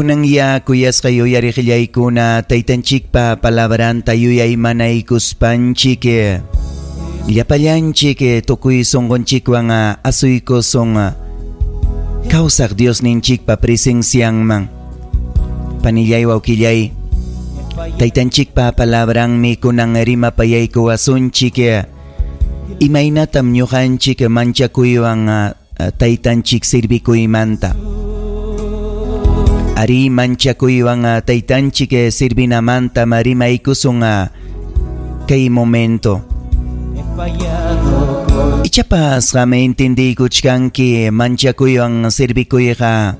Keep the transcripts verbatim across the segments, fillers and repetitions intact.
Kunan ya kuyasqa yuyariqillaykuna taytanchikpa palabranta yuyaymanaykuspanchik llapallanchik tukuy sunqunchikwan asuykusun kawsaq Diosninchikpa presencianman. Panillay, wawqillay, taytanchikpa palabranmi kunan rimapayaykuwasunchik imaynatam ñuqanchik manchakuywan taytanchik sirvikuymanta. Ari manchakuywan taytanchik sirvinamanta rimaykusun kay momento. Ichapas qam entendiykuchkanki manchakuywan sirvikuyqa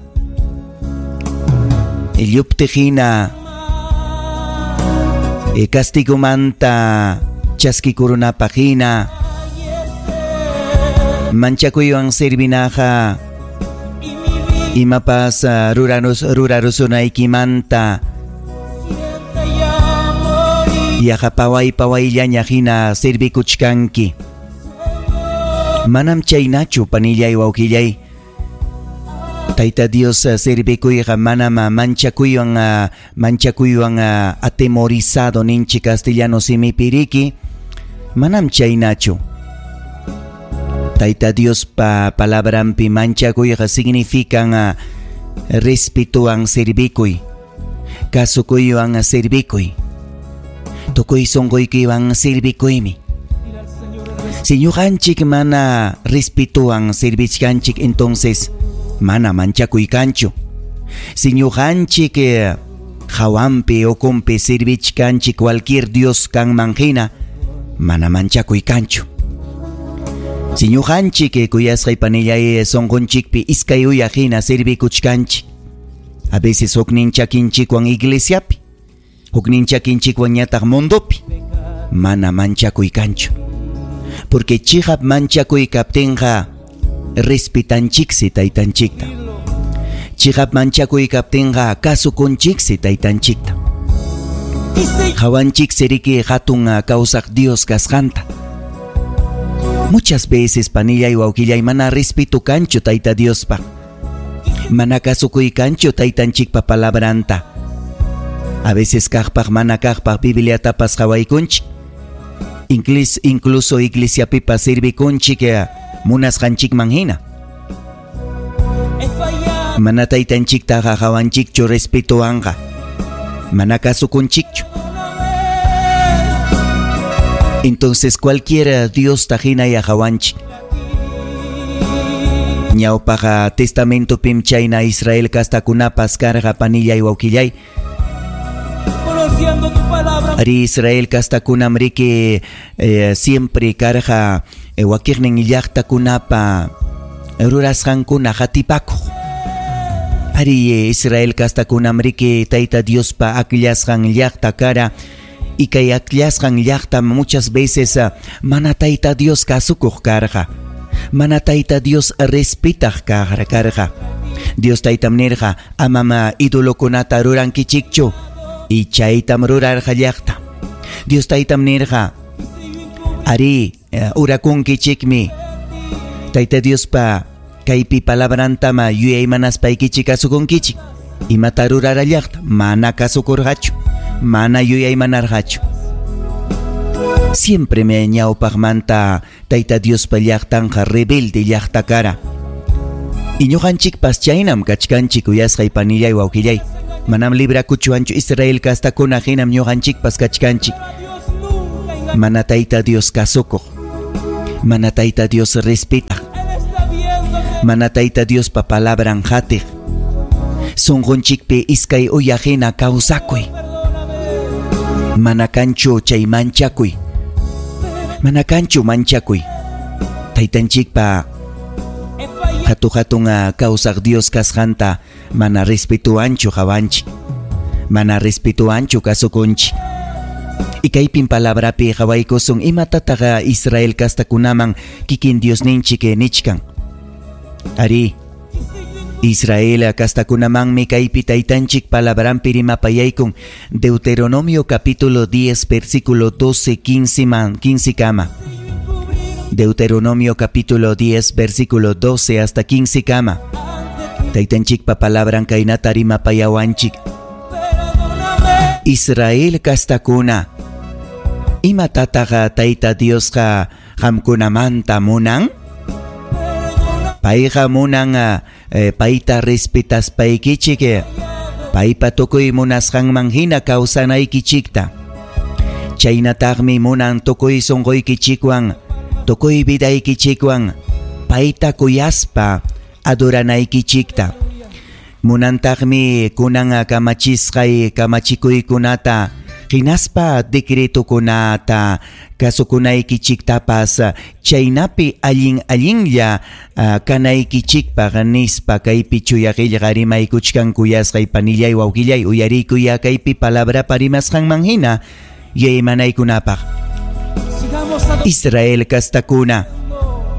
lluptihina castigomanta chaskikurunapaq hina manchakuywan sirvinaqa imapas rurarus rurarusunaykimanta yaqa paway pawayllaña hina sirvikuchkanki. Manam chaynachu panillay, wawqillay. Tayta Dios sirvikuyqa manam manchakuywan manchakuywan atemorizado ninchik castellano simipiriki, manam chaynachu. Tayta Diospa palabranpi manchakuyqa significan respetuwan sirvikuy, kasukuywan sirvikuy, tukuy sunquykiwan sirvikuymi. Si ñuqanchik mana respetuwan sirvichkanchik, entonces mana manchakuy kanchu. Si ñuqanchik hawanpi ukunpi sirvichkanchik cualquier Dios kanman hina, mana manchakuy kanchu. Si ñuqanchik kuyasqay panillay sunqunchikpi iskay uya hina sirvikuchkanchik, a veces huknin chakinchikwan iglesiapi, huknin chakinchikwan ñataq mundopi, mana manchakuy kanchu. Porque chiqap manchakuy kaptinqa respetanchiksi taytanchikta. Chiqap manchakuy kaptinqa kasukunchiksi taytanchikta. Hawanchiksi riki hatun kawsaq Dios kasqanta. Muchas veces panillay, wawqillay, mana respeto kanchu Tayta Diospa. Mana kasukuy kanchu taytanchikpa palabranta. A veces kaqpaq mana kaqpaq Bibliatapas qhawaykunchik. Inclis, incluso iglesiapipas sirvikunchik munasqanchikman hina. Mana taytanchiktaqa hawanchikchu respetuwanqa. Mana kasukunchikchu. Entonces cualquier Dios tajina ya hawanchik. Ñawpaqa testamentopim chayna Israel kastakunapas karqa panillay, wawqillay. Ari Israel kastakunam riki eh, siempre karqa eh, wakiqnin llaqtakunapa rurasqankuna hatipakuq. Ari Israel kastakunam riki Tayta Diospa akllasqan llaqta kara. Y kay akllasqan llaqta muchas veces mana Tayta Dios kasukuq karqa. Mana Tayta Dios respetaq karqa. Dios taytam nirqa amama idolokunata rurankichikchu. Y chaytam rurarqa llaqta. Dios taytam nirqa ari urakunkichikmi Tayta Diospa kaypi palabrantama yuyaymanaspa-ykichik kasukunkichik. Imata rurara llaqta mana kasukurqachu, mana yuyaymanarqachu. Siempre me ñawpaqmanta Tayta Diospa llaqtanqa rebelde llaqta kara. Y ñuqanchikpas chaynam kachkanchik kuyasqay panillay, wawqillay. Manam librakuchuanchu Israel kastakuna hinam ñuqanchikpas kachkanchik. Mana Tayta Dios kasukuq, mana Tayta Dios respetaq, mana Tayta Diospa palabran hatiq. Sunqunchikpi iskay uya hina kawsakuy. Mana kanchu chay manchakuy. Mana kanchu manchakuy. Taytanchikpa hatu hatun kawsaq Dios kasqanta mana respetuanchu hawanchik. Mana respetuanchu kasukunchik. Y kaypin palabrapi hawaykusun imatataqa Israel kastakunaman kikin Diosninchik nichkan. Ari Israel kastakunamanmi kaypi taytanchik palabranpi rimapayaykun Deuteronomio capítulo diez versículo doce quince man quince kama. Deuteronomio capítulo diez versículo doce hasta quince kama. Taytanchikpa palabran kaynata rimapayawanchik. Israel kastakuna, imatataq Tayta Diosqa qamkunamanta munan? Payqa munan eh, payta respetaspaykichik, paypa tukuy munasqanman hina kawsanaykichikta. Chaynataqmi munan tukuy sunquykichikwan, tukuy vidaykichikwan payta kuyaspa adoranaykichikta. Munantaqmi kunan kamachisqay kamachikuykunata hinaspa decretokunata kasukunaykichiktapas, chaynapi allin allinlla uh, kanaykichikpaq nispa kaypi chuya qillqa rimaykuchkan. Kuyasqay panillay wawqillay, uyariykuya kaypi palabrapa rimasqanman hina yuyaymanaykunapaq. Israel kastakuna,